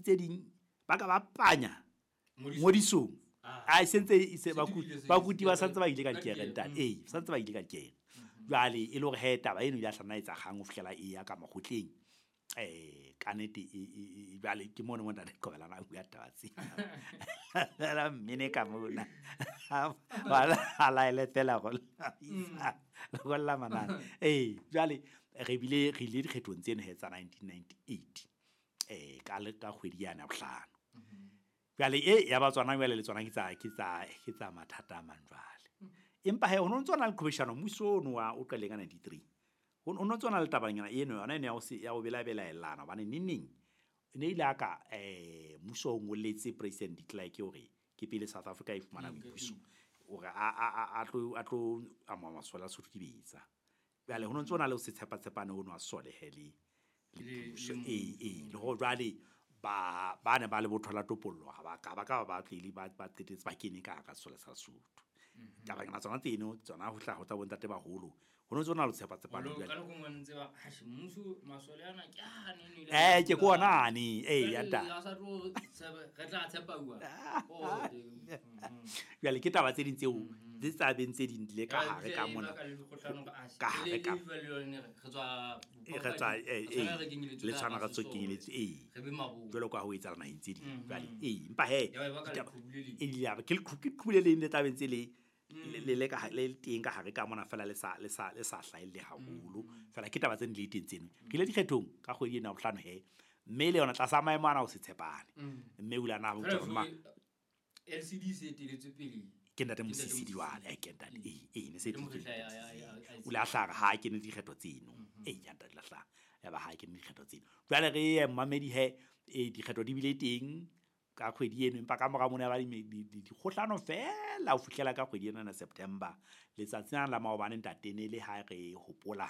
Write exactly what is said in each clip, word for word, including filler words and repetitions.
tse ding ba ka ba panya ngodisong a sentse se bakuti ba santse ba ile ka dikere ntate eh santse ba ile ka dikere jwale e le hore he taba eno ya hlana etsa kgang ho fihlela e ya ka makgotleng eh ka nete jwale ke mona mo ntate Qobelana a bua taba tse la mmene ka mona wa la ile fela go go la manana eh jwale re bile re ile dikgethong tseno he tsa nineteen ninety-eight eh ka le ka kgwedi yana bohlano jwale e ya ba tswana jwale le tswana ke tsa ke tsa ke tsa mathata a mang jwale empa he ono ntse ona le qhobeshano mmuso ono wa o qale ka ninety-three o no tsona le tabanyana eno yona ene ya o se ya o bela belaelana bane neneng ne ile aka eh mmuso o ngoletse President de Klerk hore ke pele South Africa e fumana boipuso hore a a a tlo a tlo ama masole a Sotho dibetsa jwale ho ntse ona le o se tshepa tshepane ono a sole he le le puso e e le ho jwale ba ba ne ba le botho la topollo ha ba ka ba ka ba tlile ba ba qetetse ba kene ka ka sole sa Sotho taba kana tsona tseno tsona ho tla ho tsa bontate baholo ho no tsona lo tshepa tshepa le ka go ntse ba ha mmuso masole ana ke a ne ne eh ke kona ane eh ya ta sa tlo re tla tshepa bua oh jwale ke taba tse ding tseo tse tsa beng tse ding le ka hare ka mona ka hare ka re tswa re tswa eh le tshwana ka tsokenyeletse eh jwalo ka ho etsa naheng tse ding jwale eh empa he e ya ke le qhubule le le tabeng tse le le le ka le teng ka hare ka mona fela le sa le sa le sa hlaelle haholo fela ke taba tse di le teng tseno re ile dikgethong ka kgwedi ena bohlano he mme le yona tlasa maemo ana o se tshepane mme o ile na ho tsoma L C D se teletse pele ke ntate Mosisi diwale ke ntate e e ne se o la hlaga ha ke ne dikgetho tseno e ya ntate la hlaga ya ba ha ke ne dikgetho tseno jwale re ye mmamedi he e dikgetho di bile teng ka kgwedi eno empa ka mora mona ba dikgohlano fela ho fihlela ka kgwedi ena na September letsatsi la la maobane ntate ne le ha re hopola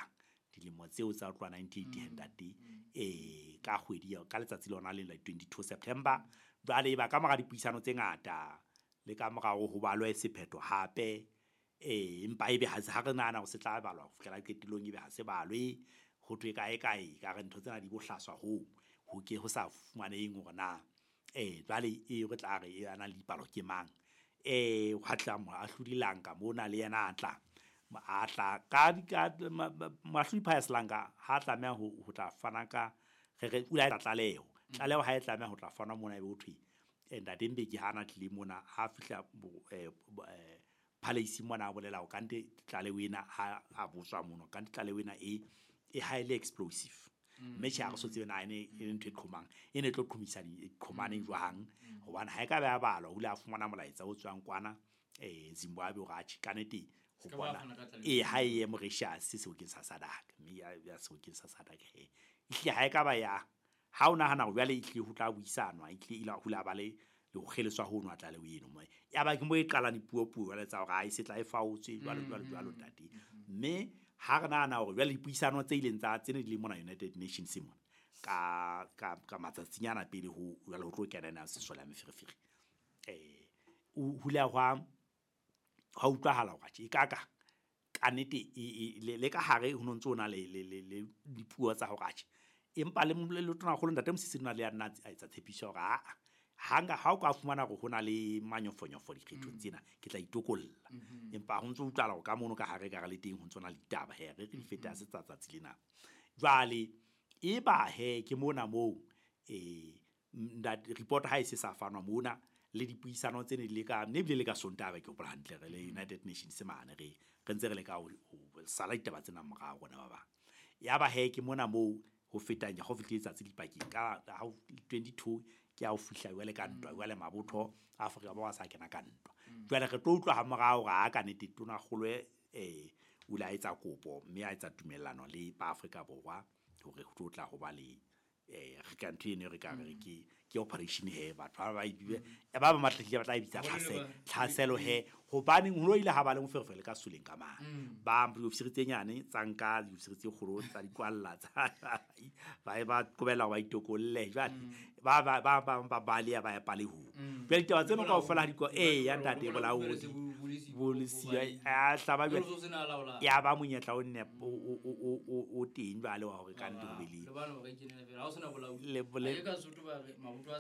dilemo tseo tsa tloha nineteen eighty ntate eh ka kgwedi ka letsatsi lona le la twenty-two September jwale ba ka mora dipuisano tse ngata le ka mora ho balwe sephetho hape eh empa ebe ha se ha re nahana ho se tla balwa ho fihlela qetellong ebe ha se balwe ho thwe kae kae ka re ntho tsena di bohlaswa ho ho ke ho sa fumaneng hore na eh jwale e re tla re e ana le dipalo ke mang eh ho tla moahlodi Langa mona le yena a tla a tla ka ka moahlodi Pius Langa ha tlameha ho ho tla fana ka re re ula tlaleho tlaleho ha e tlameha ho tla fana mona ebe ho thwe ntate Mbeki ha ana tlile mona ha fihla eh palace mona a bolela o kante tlaleho ena ha a botswa mona kante tlaleho ena e e highly explosive mme tjhe ha re so tsebe na ene e ntho e qhomang e ne tlo qhomisa di qhomane jwang hobane ha e ka ba ya balwa o ile a fumana molaetsa o tswang kwana eh Zimbabwe hore a tjhe ka nete ho bona e ha e ye Mauritius sebokeng sa SADC mme ya ya sebokeng sa SADC he ehlile ha e ka ba ya ha o nahana hore jwale ehlile ho tla buisanwa ehlile ile ho la ba le le ho kgeleswa ho nwa tlaleho eno mo ya ba ke mo e qalang dipuo puo jwale tsa hore ha e se tla e faotswe jwalo jwalo jwalo ntate mme ha re nahana hore jwale dipuisano tse ileng tsa tsene di le mona United Nations mona ka ka ka matsatsinyana pele ho jwale ho tlo kena na sesole ya meferefere eh o hula hwa ha utlwahala hore tje ka ka ka nete le ka hare ho ntse ona le le le dipuo tsa hore tje empa le le tona kgolo ntate Mosisi nna le ya nna a etsa tshepiso hore a hanga ha o ka fumana hore hona le manyofonyofo dikgethong tsena ke tla itokolla empa ho ntse utlwala hore ka mono ka hare ka re le teng ho ntse ona le ditaba he re re di feta se tsa tsatsi lena jwale e ba he ke mona moo eh report ha e se sa fanwa mona le dipuisano tse ne di le ka ne bile le ka Sontaha ke hopola hantle re le United Nations mane re re ntse re le ka ho sala ditaba tsena morao rona ba bang ya ba he ke mona moo ho fetang ya ho fihlile tsatsi dipakeng ka twenty-two ke a o fihla jwale ka ntwa jwale mabotho a Afrika Borwa sa kena ka ntwa jwale re tlo utlwa ha morao ga ka nete tona kgolo eh o la etsa kopo mme a etsa tumellano le ba Afrika Borwa hore ho tlo tla ho ba le eh re ka ntho eno re ka re ke ke operation he batho ba ba ba ba matlile ba tla bitsa tlhaselo tlhaselo he hobaneng ho ile ha ba le moferefere ka soleng ka mang ba diofisiri tse nyane tsa nka diofisiri tse kgolo tsa dikwalla tsa ba ba qobella ba itokolle jwale ba ba ba ba ba baleya ba ya palehong jwale ditaba tseno kaofela ha di ko eh ya ntate bolaodi bolisi a hlaba jwale ya ba monyetla o nne o o teng jwale wa hore ka nte ho be le le bole ka Sotho ba re mabotho a